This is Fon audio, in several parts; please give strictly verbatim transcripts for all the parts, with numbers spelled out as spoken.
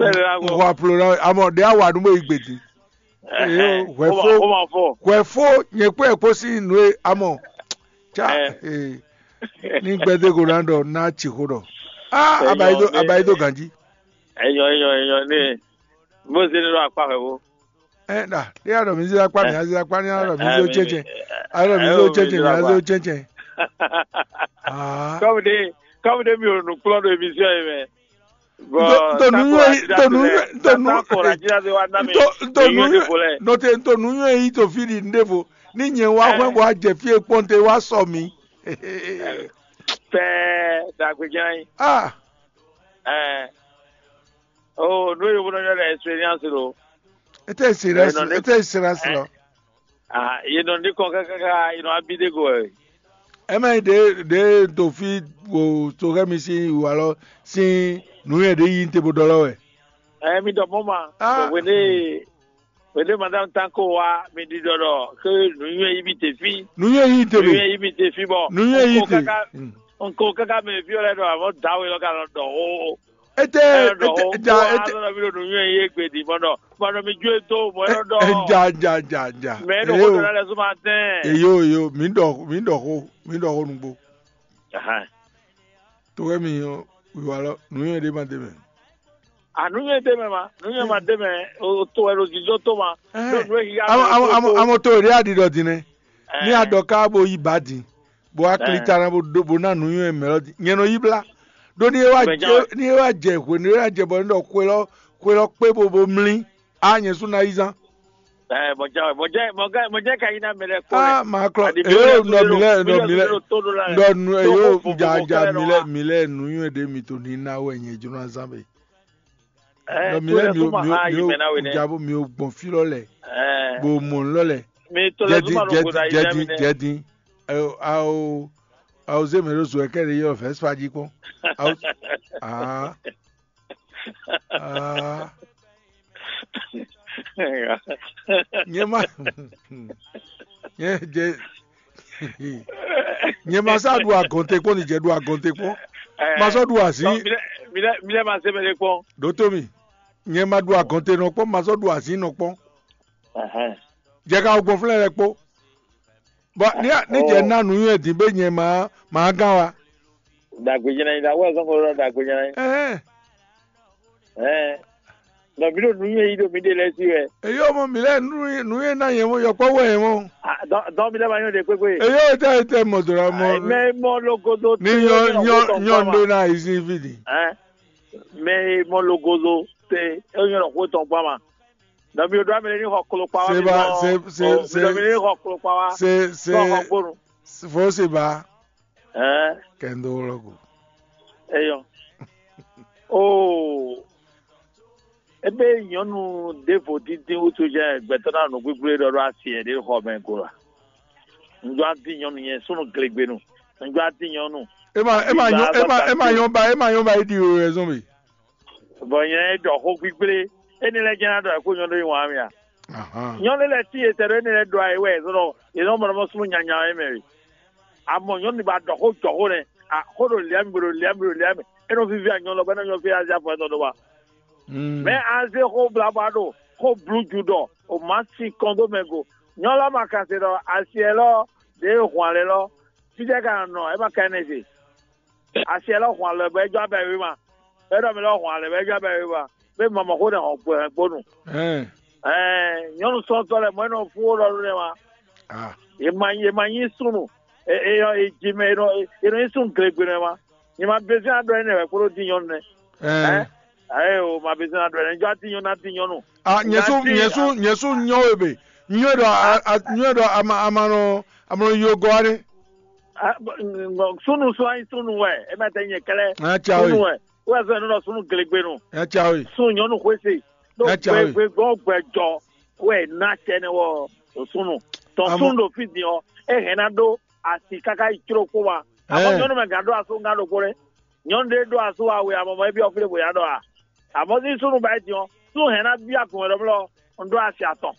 Pɛlɛ la N xɔ aplo ná we. Amɔ ɖe awa nú bó yi gbedi. Eyo, hwɛ fó. Hwɛ fó nyɛ kpó ɛ kpó sín nǔ e amɔ. Tsa ee, ní gbɛdé ko ná ɖɔ ná tsi xó ɖɔ. Ah, abayi do abayi do ganji. Enyɔ enyɔ enyɔ ne. Mo se ne ɖo akpa hwɛ wo. Ɛ ɖa ɖe aɖɔ mi zira kpa mi azira kpa ni aɖɔ mi zo tsɛtsɛ aɖɔ mi zo tsɛtsɛ mi azo tsɛtsɛ. Ah. Kɔmi de kɔmi de mi o nukplɔ ɖo emission yi mɛ. Ntɔ nuyɔnyi ntɔ nuyɔnyi ntɔ nuyɔnyi ntɔ nuyɔnyi nɔte ntɔ nuyɔnyi yi to fi ɖi nɖevo ni nyɛ wa hwɛ bɔ a jɛ fi e kpɔn te wa sɔ mi. Pɛɛ dagbe jɛn yi. Ah, Ɛɛ o n'o ye wolo nyɔ ɖe experience lo. Ete sira sira ete sira sira. Ah, ye nɔ ní kɔn kákáká ye nɔ abí dé go wɛ. Ɛ má nyí ɖě ɖě to fí wo to xɛ mi sín wǔ alɔ sín nǔnywɛ́ ɖě yí te bó ɖɔ lɔ wɛ. Ɛ mi dɔ mɔ ma. Ah. Wene wene madame tanko wa mi ɖi dɔ dɔ ke nuyɛ yi mi te fi. Nǔnywɛ́ yí te Nuyɛ bɛ. yi mi te fi bɔ. Nǔnywɛ́ yí Nko te. kaka Mm. nko kaka mɛ fi lɛ dɔ avɔ dawe lɔ ka lɔ dɔ o. Ete Ɛ dɔ o. ete ja ete Azɔ mi ɖo nuyɛ yi egbe di mɔ dɔ mɔ dɔ mi ju eto mɔ dɔ dɔ. ja ja ja ja. Mɛ ɖo ko dɔ na lɛ suma tɛn. Eyo eyo mi ɖɔ mi ɖɔ xó mi ɖɔ xó nugbo. Ahan. To xɛ mi wíwá lɔ nǔnywɛ́ ɖé ma ɖe mɛ. Anu yɛ de mɛ ma, nu yɛ ma de mɛ, o to wɛ ɖo dzidzɔ to ma. Ɖo nu ehi ya Amɔ amɔ amɔ amɔ to ɖe aɖi ɖɔ din nɛ. Ní Ɛ, aɖɔ ká bo yi ba din, bó wá kli ta ná bó ɖó bó ná nǔnywɛ́ mɛ lɔ din. Nyɛ nɔ yi blá. Ɖó ní é wá Mɛ jɛ jɛ́n wɛ. Ní é wá jɛ hwenu é wá jɛ bɔ ní ɖɔ xwe lɔ xwe lɔ kpé bo bo mlí. A nyɛ sú ná yi zán. Ɛ, mɔ ja wɛ, mɔ jɛ mɔ ga mɔ jɛ ka yi na mɛ lɛ kpɔ. A ma klɔ Adi eyo mi nɔ mi lɛ nɔ mi lɛ to do la. nɔ nu Ɖo eyo xó ja vovo ja xó mi lɛ lɛ nɔ mi lɛ nǔnywɛ́ ɖe mi to ní ná wɛ nyɛ jló ná zán be. Ɛ, Nɔ mi to lɛ lɛ mi so o ma mi o ha mi yi o mɛ na we nɛ. ja bo mi o gbɔn fí lɔ lɛ. Ɛ, Bo mɔ lɔ lɛ. mi to lɛ so Jɛdin ma ɖo go da jɛdin yi na mi jɛdin nɛ. jɛdin. Ao ao ao zé mɛ ɖo zo ɛkɛ ɖe yɔ vɛspa jí kpɔn. Ao aa aa nyɛ ma nyɛ jɛ nyɛ ma sá ɖu agɔnte kpɔn ni jɛ ɖu agɔnte kpɔn. Ma sɔ ɖu azí. Mi lɛ mi lɛ mi lɛ ma se mɛ ɖe kpɔn. Ɖo tó mi nyɛ ma ɖu agɔnte nɔ kpɔn ma sɔ ɖu azí nɔ kpɔn. Ɛhɛn. Jɛ ka gbɔn flɛ lɛ kpó. Bɔ ní ní jɛ ná nǔnywɛ́ dín bɛ nyɛ ma ma gán wa. Dagbe jɛnɛ yi da wɛ sɔn ko lɔ dagbe jɛnɛ yi. Ɛhɛn. Ɛɛ. Nɔ mi ɖo nu yɛ yi ɖo mi ɖe lɛ si wɛ. Eyo mɔ mi lɛ nǔnywɛ́ ná yɛ mɔ yɔkpɔ wɛ yɛ mɔ. Dɔn mi lɛ ma nyɔ ɖe kpekpe. Eyo tɛ tɛ mɔ dora mɔ. Mɛ mɔ logodo. Ní nyɔ nyɔ nyɔ ɖo na yi si fi di. Ɛn. Mɛ mɔ logodo te e nyɔ lɔ xo tɔn gba ma. Nɔ mi ɖo amɛ ní xɔ klo kpa wa mi Seba nɔ. se se Mi nɔ mi ní se xɔ klo kpa wa. se Nɔ xɔ se kponu. fo se ba Ɛɛ. Kɛndo lɔgo. Eyɔ. Oo. Ebe nyɔnu ɖevo dindin wutu jɛ gbɛtɔ na nu gbigble ɖɔ ɖo asi yɛ ɖe xɔ mɛ go la. Ŋjɔ adi nyɔnu yɛ sunu glegbenu. Ŋjɔ adi nyɔnu. Ema ema nyɔ ema ema nyɔ ba ema nyɔ ba yi di o yɛ zɔn bi. Bɔn yɛ ɖɔ xo gbigble. Eni lɛ jɛn na ɖɔ ɛkú nyɔnu yi wɔn amia. Ahan. Nyɔnu lɛ ti yetɛ ɖo eni lɛ ɖɔ ayi wɛ zɔn yɛ nɔ mɔ ɖɔ mɔ sunu nyanya yɛ mɛ wi. Amɔ nyɔnu ba ɖɔ xo jɔ xo nɛ. A xo ɖo lia mi bo ɖo lia mi bo ɖo lia mi. Enɔ vivi anyɔ lɔ bɛ ne nyɔ fi azi afɔ ɛtɔ ɖo wa. Mm. Mɛ anze xo blabla ɖo xo bluju ɖɔ o ma si kɔn dó mɛ go. Nyɔnu lɔ ma kan se ɖɔ asi ɛlɔ ɖe hwan lɛ lɔ. Fíjɛ ka nɔ ɛ ma ka ɛnɛ se. Asi ɛlɔ hwan lɛ bɛ jɔ abɛ wi ma. Bɛ ɖɔ mi lɔ hwan lɛ bɛ jɔ abɛ wi ma. Bɛ mɔmɔ xo nɛ hɔn gbɛ hɛn gbonu. Ɛn. Ɛɛ nyɔnu sɔntɔ lɛ mɔ enɔ fún wo lɔ ɖo nɛ ma. Ah. Ye ma ye ma nyi sunu. E e yɔ e ji mɛ enɔ enɔ nyi sunu glegbe nɛ ma. Ye ma bɛsɛ adɔ enɛ wɛ kpɔɖɔ di nyɔnu nɛ. Ɛn. Ayi o ma bɛsɛ adɔ enɛ jɔ ati nyɔnu ati nyɔnu. Ah, nyɛsu Nati- nyɛsu nyɛsu nyɔ we be. Nyɔ ɖɔ a a nyɔ ɖɔ ama ama nɔ ama nɔ yo gɔ wa ɖe. Ah, bɔ- bɔ- sunu sɔ anyi sunu wɛ e ma tɛ nyɛ kɛlɛ. Ɛ tsa Sunu we. Wɛ wɛ sɔ enɔ sunu glegbe nu. Ɛ tsa we. Sun nyɔnu xwese. Ɖo Ɛ tsa we. Gbɛgbɛgbɔ gbɛjɔ wɛ na tɛ ne wɔ o sunu. Tɔ Amɔ- sunu ɖo fi din ɔ e hɛn na ɖo asi kaka yi tsro kpo wa. Amɔ Ɛ. Nyɔnu mɛ gan ɖo aso gan ɖo kpo ɖe. Nyɔnu ɖe ɖo aso awe amɔ mɔ ebi ɔfile bo ya ɖɔ a. Amɔ si sunu ba yi din ɔ sun hɛn na bi agun wɛ ɖɔmlɔ n ɖo asi atɔn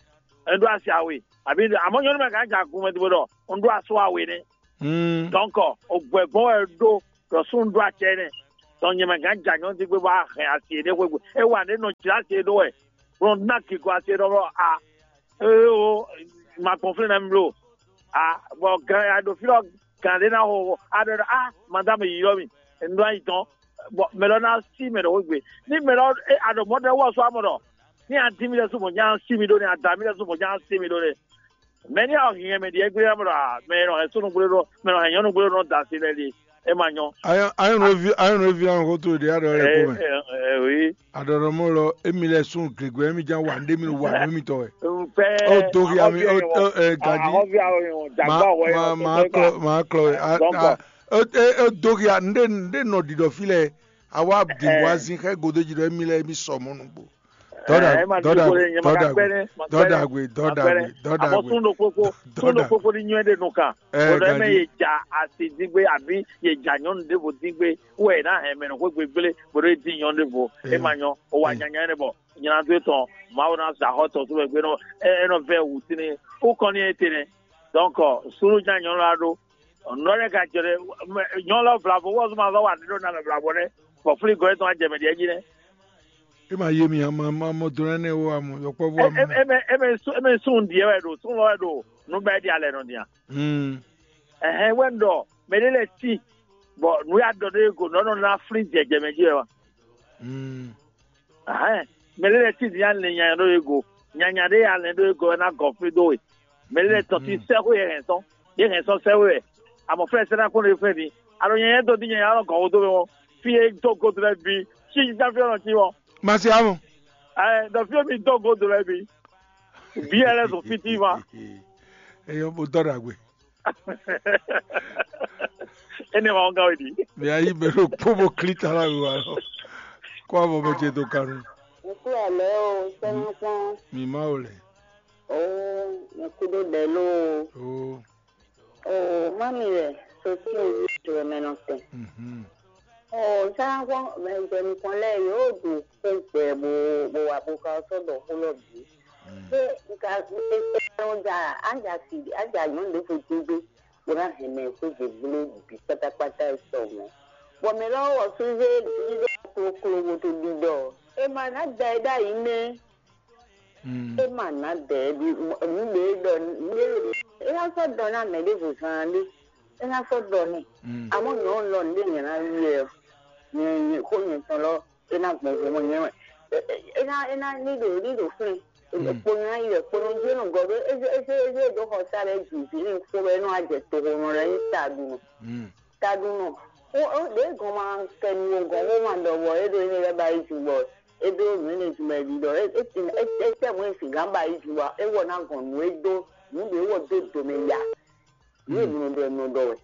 n ɖo asi awe abi amɔ nyɔnu mɛ gan ja agun mɛ dibo ɖɔ n ɖo aso awe nɛ. Mm. Donc o gbɛgbɔn wɛ ɖo ɖɔ sun ɖo atsɛ nɛ. tɔn nyɛ mɛ gǎn jɛ anyɔ́ dín gbé bɔ a hɛn asi e ɖé xwé gbe. É wa ɖě nɔ jlá asi e ɖó wɛ, bó nɔ ná gǐgɔ́ asi e ɖɔ bɔ a, éo, ma gbɔn flɛ́n nɛ́ mi bló. A, bɔ gǎn a ɖo fí lɔ gǎn ɖé ná xo a ɖɔ ɖɔ a, madame yi ylɔ́ mì, un ɖó ayi tɔn. Bɔ mɛ lɔ ná sí mɛ ɖɔ xwé gbe. Ní mɛ lɔ a ɖɔ mɔ̌ ɖɔ wɔ sɔ amɔ ɖɔ ní a dín mì lɛ́ɛ sú mɔ̌ ján sí mi ɖó nɛ́, a da mì lɛ́ɛ sú mɔ̌ ján sí mi ɖó nɛ́. Mɛ ní a hɛn mɛ ɖíe gbé amɔ ɖɔ a, mɛ e nɔ hɛn súnnu gbé ɖó, mɛ e nɔ hɛn nyɔ̌nu gbé ɖó nɔ da asi lɛ́ɛ ɖíe. É ma nyɔ́. Ayɔ́nuvǐ ayɔ́nuvǐ ɔ́ xó towe ɖě a ɖɔ lɛ́ɛ kpó mɛ. Ɛ, ɛ, oui. A ɖɔ ɖɔ mɔ́ lɔ émi lɛ sún gěgwě émi ján wa nǔɖé mi wa nǔ mitɔn wɛ. Pɛ Ó dó hia mi, ó, ó, ɛ, Gají. Ahɔ́via o yɔn jagba wɛ. Ma ma klɔ ma klɔ wɛ. A- Donc, a- Ó é- ó dó hia nɖé nɖé nɔ ɖiɖɔ fí lɛ. Awa ɖi wazin xɛ godo jí ɖɔ émi lɛ émi sɔ mɔ nugbo. Dɔda ɛ, ma dɔda dúró kó lè nyɛ ma ka dɔda kpɛnɛ, ma dɔda kpɛnɛ. gbe dɔda gbe dɔda Àmọ́ gbe. súnú pópó súnú Dɔda. Pópó ní nyɔ́ ɖe nù kan. Ɛ, Bɔ̀dọ̀ ɛ mɛ Gají. Yè dza asi dín gbé àbí yè dza nyɔ́nu ɖěvo dín gbé. Wɛ ná hɛn mɛ nɔ xwé gbégbélé bɔ̀dọ̀ é dín nyɔ́nu ɖěvo. É ma nyɔ́. O wa nyanya ɖe bɔ nyina dó tɔn Mawu ná sa xɔ tɔn tó mɛ gbé nɔ ɛ nɔ vɛ wǔ tínú. Ó kɔn ní é tɛnɛ. Donc súnú dza nyɔ́nu la ɖó. Nɔ ɖe ka jɔ ɖe nyɔ́nu lɔ vlavo wɔ zuma zɔ wa ɖe ɖo na mɛ vlavo ɖe. Bɔ flí gɔ́ tɔn ajɛ mɛ ɖiɛ jí nɛ. É ma yé mi ama ma mɔ dó nɛnɛ wo amɔ yɔkpɔ́vú amɔ. Eme sun ɖiɛ wɛ ɖo sun lɔ wɛ ɖo nubɛ ɖi alɛ nɔ dia. Hmm. Ɛhɛn wɛ ɖɔ mɛ ɖe lɛ ti bɔ nu ya dɔ ɖe go nɔ nɔ na flin jɛjɛ mɛ ji wɛ wa. Hmm. Ɛhɛn mɛ ɖe lɛ ti dia lɛ nya ɖo ye go nyanya ɖe ya lɛ ɖo ye go na gɔ fli do we. Mɛ ɖe lɛ tɔn ti sɛ ko yɛ hɛn sɔn ye hɛn sɔn sɛ we wɛ. Amɔ fɛ sɛ na ko ne fɛ ni alo nyanya dɔ di nyanya lɔ gɔ wo do mɛ wɔ fi ye do go do lɛ bi si ji ta fi ɔnɔ ti wɔ. Masi amɔ. Ɛ dɔ fi mi do go do lɛ bi. Bi yɛ lɛ zɔn fiti ma. Eyɔ bo dɔ ɖagbe. Ene ma ŋga wɛ di. Mi ayi bɛ ɖo kpó bo kli ta la wíwá lɔ. Kó avɔ bɛ jɛ do kanu. Ŋku alɛ o, sɛnukpɔn Mi ma o lɛ. o, ŋku ɖo ɖɛ lo O. o, mami wɛ, sotí o yi jɔ mɛ nɔ tɛn. Mhm. O, sɛnukpɔn mɛ jɛ nukɔn lɛ yóò ɖu xó gbɛ bo bo wa bo ka sɔ ɖɔ xó lɔ bǐ. Ṣé nka nɔ dza adza si adza nyɔnu ɖe fo dín gbé bó ná hɛn mɛ xwé gěgblé bǐ kpátákpátá e sɔ mɔ̌. Bɔ mɛ lɔ wɔ súzé ɖiɖɔ kloklo bo to ɖiɖɔ. E ma ná da ɛ ɖ'ayǐ nɛ́. Mm. E ma ná da ɛ ɖi nǔ ɖe ɖɔ nǔ ɖe ɖe. E ná sɔ́ dɔn ná mɛ ɖěvo zaan ɖé. E ná sɔ́ dɔn n'i. Mm. Amɔ̌ nyɔ̌nu lɔ nǔ ɖé nyɛ ná wiɛ ɔ́. Nyɛ nyɛ xó nyɛ tɔn lɔ é ná gbɔn vo mɔ nyɛ wɛ. É ná é ná ní ɖo ní ɖo flin. Kpo nyɛ ná yi wɛ kpo nɔ jí nɔ gɔ́ ɖó é zé é zé é zé ɖó xɔ sa ɖe jǐ ví ní kpó wɛ é nɔ wá jɛ toxo nɔ lɛ́ nyí taɖunɔ. Mm. Taɖunɔ. Ó ó ɖě gɔn ma kɛ nu wo gɔn xó ma ɖɔ bɔ é ɖo énɛ́ lɛ́ɛ ba yi jǐ bɔ é ɖó nǔ énɛ́ jǐ mɛ ɖi ɖɔ é é é é tɛ mɔ̌ e sǐgán ba yi jǐ bɔ é wɔ ná gɔn nǔ e dó nǔ ɖě wɔ dó domɛ ya. Nǔ e mlɔ ɖɔ è mlɔ ɖɔ wɛ.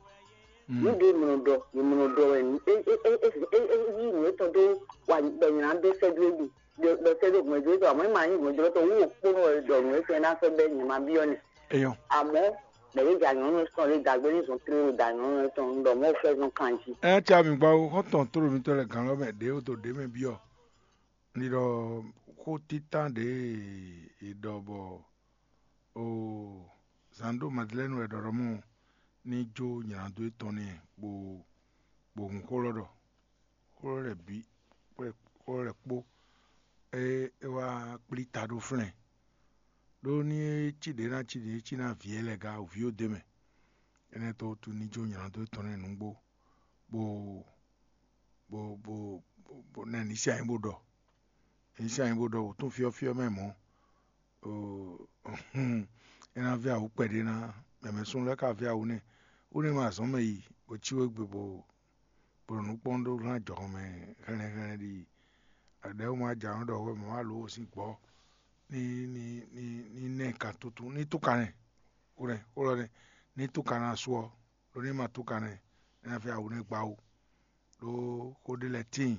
Nǔ ɖě mlɔ ɖɔ è mlɔ ɖɔ wɛ. É é é é é é yí nǔ étɔn dó wa ɖɔ nyina dó sɛ́ dó é ɖi ɖɔ sɛ́ dó hwɛ̌n dó é tɔn àmọ́ é ma nyí hwɛ̌n dó tɔn wú òkpónɔ wɛ ɖɔ nǔ étɔn é ná sɔ́ bɛ́ nyɛ ma byɔ́ nɛ. Eyɔ. Àmọ́ mɛ ɖě da nyɔ̌nu tɔn ɖé dǎgbé ní zɔn tlé ɖo da nyɔ̌nu tɔn un ɖɔ mɔ̌ fɛ́ zɔn kan jí. Ɛ tsa mi gba wo xɔtɔn tó mi tɔ lɛ gan lɔ mɛ ɖě o to ɖě mɛ byɔ. Ni ɖɔ xó títán ɖě e ɖɔ bɔ o zan ɖo Madeleine wɛ ɖɔ ɖɔ mɔ ní jó nylado étɔn n'i bo bo hun xó lɔ ɖɔ xó lɔ lɛ bǐ xó lɔ lɛ kpó é é wá kplí ta ɖó flɛ́n ɖó ní é cí ɖě ná cí ɖě é cí ná vǐ é lɛ gǎ vǐ ó d'é mɛ. Énɛ́ tó wútu ní jó nylado étɔn n'i nǔgbó bo bo bo bo nɛ ní sí anyí bó ɖɔ ní sí anyí bó ɖɔ wǒtún fyɔ́fyɔ́ mɛ mɔ̌. É ná vɛ́ awǔ kpɛɖé ná mɛmɛ súnnu lɛ́ɛ ka vɛ́ awǔ nɛ́ wú nɛ́ ma azɔ̌ mɛ yi bó cí wé gbe bó bó ɖo nǔ kpɔ́n ɖó hlán jɔhɔn mɛ hɛnlɛ́nhɛnlɛ́n ɖi ɖɛ̌ wú ma jǎ nɔ ɖɔ hwɛ mɔ̌ alo sín gbɔ̌ ní ní ní ní nɛ kan tutu ní túkan nɛ kó nɛ kó lɔ nɛ ní túkan ná su ɔ́ ɖó ní ma túkan nɛ é ná vɛ́ awǔ nɛ́ gbá wú. Ɖó xó ɖé lɛ́ɛ tíin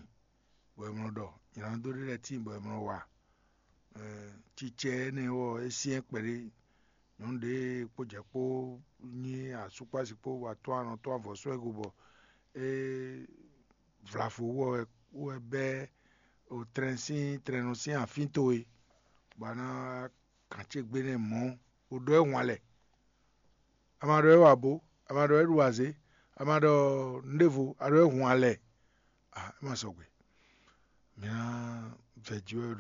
bɔ è mlɔ ɖɔ nylǎndó ɖé lɛ́ɛ tíin bɔ è mlɔ wa. Cicɛ énɛ́ ɔ́ é syɛ́n kpɛɖé nyɔ̌nu ɖě kpó jɛ kpó nyí asúkpási kpó bɔ atɔ́ anɔ tɔ́ avɔ sɔ́ ɛ go bɔ é vlavo wú ɔ wɛ bɛ́ tlɛn sín tlɛnɔ sín afín towe bɔ a ná gǎn ce gbe nɛ mɔ̌ bó ɖɔ ɛ hwan lɛ. A ma ɖɔ é wa bó, a ma ɖɔ é ɖu azě, a ma ɖɔ nǔɖévo, a ɖɔ é hun alɛ. É ma sɔgbe. Mǐ ná vɛ jí wɛ ɖɔ